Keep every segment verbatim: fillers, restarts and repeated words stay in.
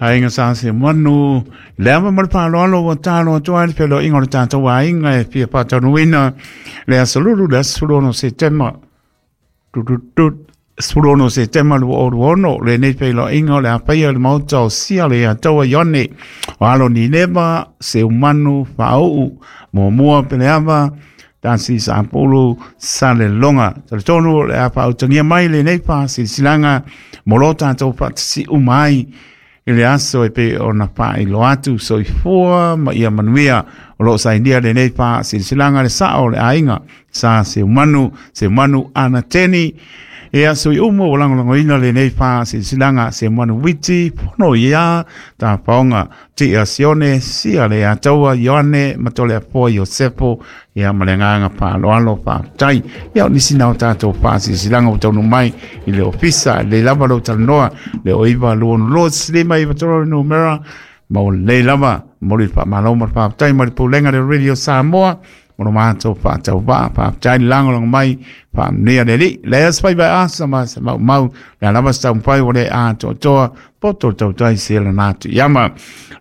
Aiga sa se manu le ava ma le faaaloalo ua talo atu ai le feloaiga o le tatou aiga e fia faataunuuina le aso lulu le aso sefulu ono Setema tututut sefulu ono Setema lua o lua ono lenei feloaiga o le apaia o le maota o sia le ataua Ione o alo Nineva Seumanu Faauu muamua Peleava tasi sapulu Salelologa. Talitonu o le a faautagia mai lenei faasilasilaga mo lo tatou faatasi'u mai i le aso e pei ona faailoa atu. Soifua ma ia manuia. O loo sainia lenei faasilasilaga le sao o le aiga sa Seumanu Seumanu Anateni. Ia sui umu o lagolagoina lenei faasilasilaga Seumanu Witi Pono ia tapaoga Tia Sione sia le Ataua Ioane Matoleafoa Iosepo ia ma le agaga faaaloalo faafetai. Ia o nisi na o tatou faasilasilaga ua taunuu mai i le ofisa le lava lou talanoa le o iva lua ono lua lima iva tolu le numera ma ua lelei lava momoli le faamalo ma le faafetai mai le pulega le Radio Samoa mo lo matou faatauvaa. Faafetai le lagolago mai faamanuia le Alii le aso fai asa ma se maumau le alava se taumafai ua le atoatoa poto le tautai se lana atu iama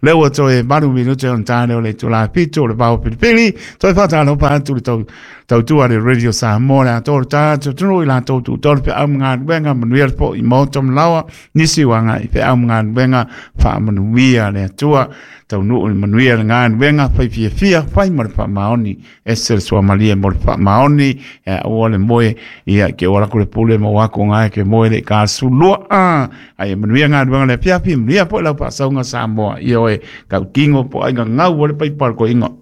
le ua toe valu minute ona ta lea o le itula fitu o le vao pilipili toe faatalofa atu le tau tautua le Radio Samoa le atoa le tatou atunuu i latou tutolu feau ma galuega manuia le fo'i maota ma laoa nisi ua agai feau ma galuega faamanuia le Atua taunuu i le manuia le galuega fai fiafia fai ma le faamaoni ese le suamalie mo le faamaoni e aua le moe ia ke o ala le pule ma wako ngai ke moe le ka sulua a ai manuia galuega le afiafi manuia po lau faasauga Samoa ia oe kautingo po ai ngau o le paipal ko inga.